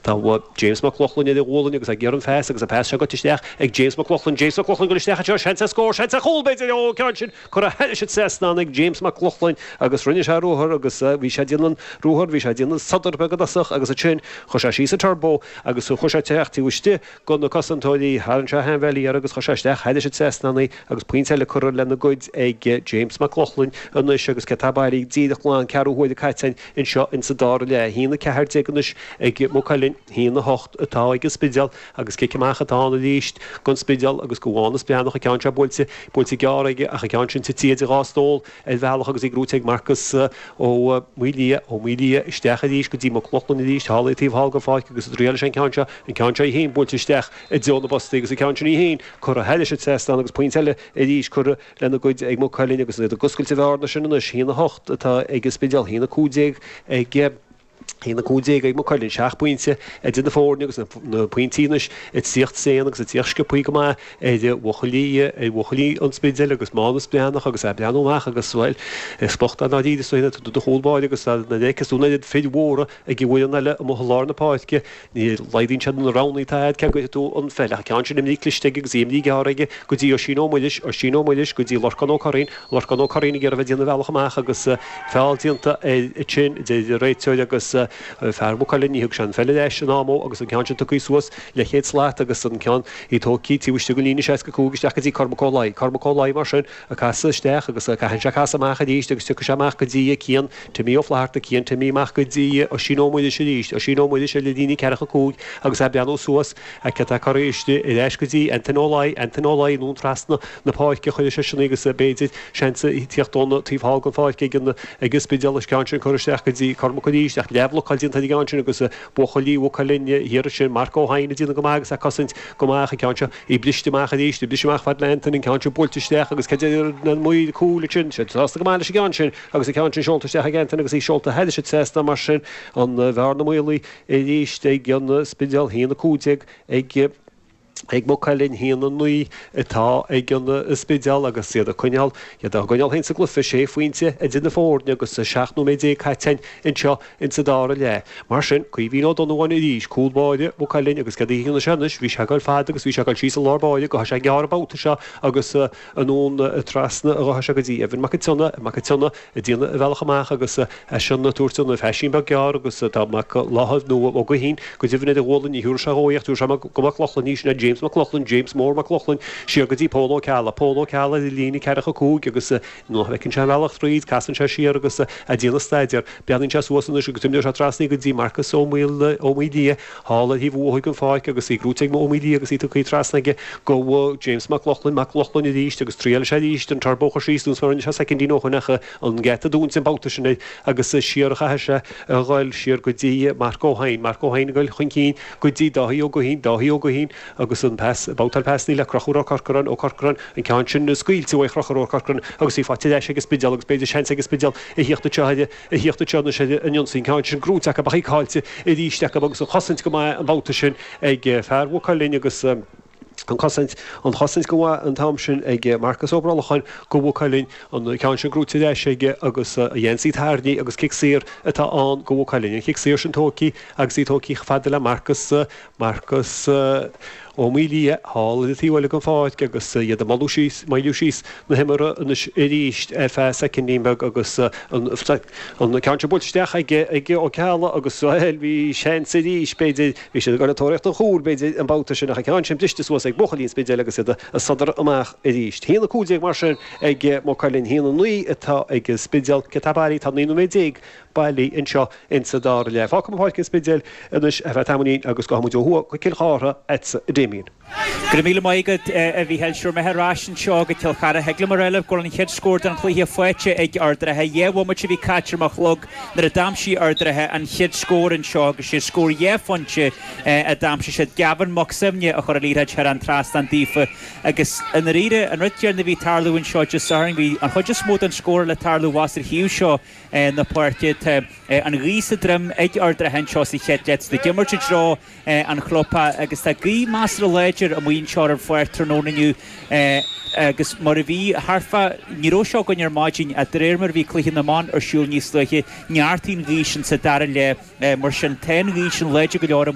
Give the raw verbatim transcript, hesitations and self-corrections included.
Tá James Mac Lochlainn ar a ghualainn agus ag iarraidh an phas agus an pas seo goite isteach ag James Mac Lochlainn. James Mac Lochlainn ag dul isteach anseo, seans ar scór, seans ar chúl b'fhéidir, ó an ceann sin curtha thairis an trasnán ag James Mac Lochlainn agus rinne sé ruathar agus bhí sé ag déanamh an ruathar, bhí sé ag déanamh sodar beag i dtosach agus ansin chuir sé síos an turbo agus chuir sé isteach taobh istigh de na cosantóirí, tharraing sé a sheanbhealaí air agus chuir sé isteach thairis an trasnán í agus pointe eile curtha lena gcuid ag James Mac Lochlainn anois agus cé tá bailí díreach glan ceathrú huaire caite anseo insa dara leath. A haon a ceathair déag anois ag Maigh Cuilinn, a haon a hocht atá ag an Spidéal agus cic amach atá ann arís don Spidéal agus do Mhánus Breathnach an ceann seo buailte, buailte gearr aige ach an ceann sin tite idir dhá stól ar bhealach agus í gnóite ag Marcus Ó Maoildhia, Ó Maoildhia isteach arís go dtí Mac Lochlainn arís thall taobh thall den pháirc agus ag triail leis an ceann seo, an ceann seo í féin buailte isteach i dtreo na bpostaí agus an ceann sin í féin curtha thairis an trasnán agus pointe eile arís curtha lena gcuid ag Maigh Cuilinn agus iad ag oscailt an bhearna sin anois, a haon a hocht atá ag an Spidéal, a haon a cúig déag ag a haon a cúig déag ag Maigh Cuilinn, seacht bpointe idir na foirne agus na pointí anois ag tíocht tréan agus ag tíocht sciobthaí go maith ar bhuachaillí ar bhuachaillí an Spidéil agus Mánus Breathnach agus é ag breathnú amach agus bhuel is bocht é ndáiríre is dóigh do chúl báire agus nuair a fheiceas tú an oiread fir mhóra ag an bhfoireann eile amuigh i lár na páirce ní laghdaíonn siad na roghanna atá agat cé go gcuirfidh tú an pheil ach an ceann sin imrithe cliste aige agus í imrithe gearr aige go dtí Oisín Ó Muiris, Oisín Ó Muiris go dtí Lorcán Ó Curraoin, Lorcán Ó Curraoin ag iarraidh a bheith ag déanamh a bhealach amach agus feall déanta air ansin deir an réiteoir agus fear Mhaigh Cuilinn, ní thug sé an pheil ar ais in am dó agus an ceann sin tugtha suas leathchéad slat agus an ceann í tógtha taobh istigh den líne seasca cúig isteach go dtí Cormac Ó Laoi. Cormac Ó Laoi mar sin ag casadh isteach agus caitheann sé casadh amach arís agus tiocfaidh sé amach go dtí Cian Timmy Ó Flatharta, Cian Timmy amach go dtí Oisín Ó Muiris arís, Oisín Ó Muiris ar an líne ceathracha cúig agus é ag breathnú suas cé atá curtha istigh ar ais go dtí Antain Ó Laoi, Antain Ó Laoi anonn trasna na páirce a chuirfidh seisean í agus b'fhéidir seans ag tíocht ón taobh thall den pháirc ag an ag an Spidéal an ceann sin curtha isteach go dtí Cormac arís ach leathbhlocáil déanta ar an gceann sin agus buachaillí Mhaigh Cuilinn thiar ansin Marc Ó hEidhin ag déanamh go maith agus ag cosaint go maith an ceann seo í briste amach arís í briste amach fad le Antain an ceann sin buailte isteach agus cad é na maoil cúil ansin siad sásta go maith leis an gceann sin agus an ceann sin seolta isteach ag Antain agus í seolta thairis an trasnán mar sin an bhearna maolaithe arís ag an Spidéal a haon a cúig déag ag ag Maigh Cuilinn a haon a naoi atá ag an Spidéal agus iad ag coinneáil iad á gcoinneáil féin sa gcluiche sé phointe idir na foirne agus seacht nóiméad déag caite anseo insa dara leath. Mar sin, Caoimhín Ó Donnabháin arís, cúl báire Mhaigh Cuilinn agus céard a dhéanfaidh sé anois? Bhí sé ag goil fada agus bhí sé ag goil síos i lár báire gabhfaidh sé gearr an babhta seo agus anonn trasna a ghabhfaidh sé go dtí Evan Mac an tSionnaigh, Mac an tSionnaigh ag déanamh a bhealach amach agus eisean ag tabhairt an phaisín beag gearr agus tá Mac Láthair nó Ó Guithín go deimhin ar a ghualainn, ní thiúrfaidh sé dhó í ach tiúrfaidh sé go Mac Lochlainn í, sin é James Mac Lochlainn, James Mór Mac Lochlainn, siar go dtí Pól Ó Ceallaigh, Pól Ó Ceallaigh ar an líne ceathracha cúig agus nuair a fheiceann sé an bealach tríd, casann sé siar agus ag déanamh staidéir. Breathnaíonn sé suas anois agus imreoidh sé trasna í go dtí Marcus Ó Maoildhia thall ar thaobh thuaidh den pháirc agus í gnóite ag Ó Maoildhia agus í tugtha trasna aige go James Mac Lochlainn, Mac Lochlainn arís agus triailfidh sé arís an turbo a chur síos nós mar a rinne sé soicindín ó shin ach an geata dúnta an babhta sin air agus siar a chaithfidh sé a ghoil siar go dtí Marc Ó hEidhin, Marc Ó hEidhin ag goil chun cinn go dtí Dáithí Ó Guithín, Dáithí Ó Guithín agus an pas, babhtáil pasanna le Conchúr Ó Corcoráin, Ó Corcoráin, an ceann sin scaoilte uaidh Chonchúr Ó Corcoráin agus í faighte ar ais ag an Spidéal agus b'fhéidir seans ag an Spidéal a thíocht anseo ar a thíocht anseo anois ar an ionsaí, an ceann sin gnóite acu ach í caillte arís acu agus an chosaint go maith an babhta sin ag fear Mhaigh Cuilinn agus an chosaint, an chosaint go maith an t-am sin ag Marcus Ó Brolacháin go Mhaigh Cuilinn, an ceann sin gnóite ar ais aige agus a gheansaí tarraingthe agus cic saor atá ann go Mhaigh Cuilinn. An cic saor sin tógtha agus í tógtha chomh fada le Marcus, Marcus Ó Maoildhia thall ar an taobh eile den pháirc agus iad ag moladh síos, moilliú síos na himeartha anois arís ar feadh soicindín beag agus an ceann sin buailte isteach ag ag Ó Ceallaigh agus bhuel bhí seans arís b'fhéidir, bhí siad ag dul ag tóraíocht an chúil b'fhéidir an babhta sin ach an ceann sin briste suas ag buachaillí an Spidéil agus iad ag sodar amach arís. A haon a cúig déag mar sin ag Maigh Cuilinn, a haon a naoi atá ag an Spidéal. Cé tá bailí? Tá naoi nóiméad déag bailí anseo insa dara leath. Fágfaidh muid Páirc an Spidéil anois ar feadh tamaillín agus gabhfaidh muid ó thuaidh go Cill Chartha agatsa a Damien. Go raibh míle maith agat a Mhícheáil. Sure mé ar ais anseo go Cill Chartha. Thig liom a rá libh go bhfuil an chéad scór den chluiche faighte ag Ard an Rátha. Dhá bhomaite a bhí caite ar mo chlog nuair a d'aimsigh Ard an Rátha an chéad scór anseo agus sé scór dhá phointe a d'aimsigh siad. Gavin Mac Suibhne a chuir an liathróid thar an trasnán daofa agus i ndáiríre an rud céanna a bhí ag tarlú anseo Dé Sathairn bhí an chuid is mó den scóráil ag tarlú abhus ar thaobh seo na páirce. Tá an ghaoth sa droim ag Ard an Rátha anseo sa chéad leath. Tá ag imirt i dtreo an chlubtheach agus tá gaoth measartha láidir amuigh anseo ar an pháirc tráthnóna inniu agus mar a bhí thart fá, ní raibh seo againn ar maidin ach de réir mar a bhí cluiche na mban ar siúl níos luaithe, neartaigh an ghaoth sin sa dara leath. Mar sin tá an ghaoth sin láidir go leor.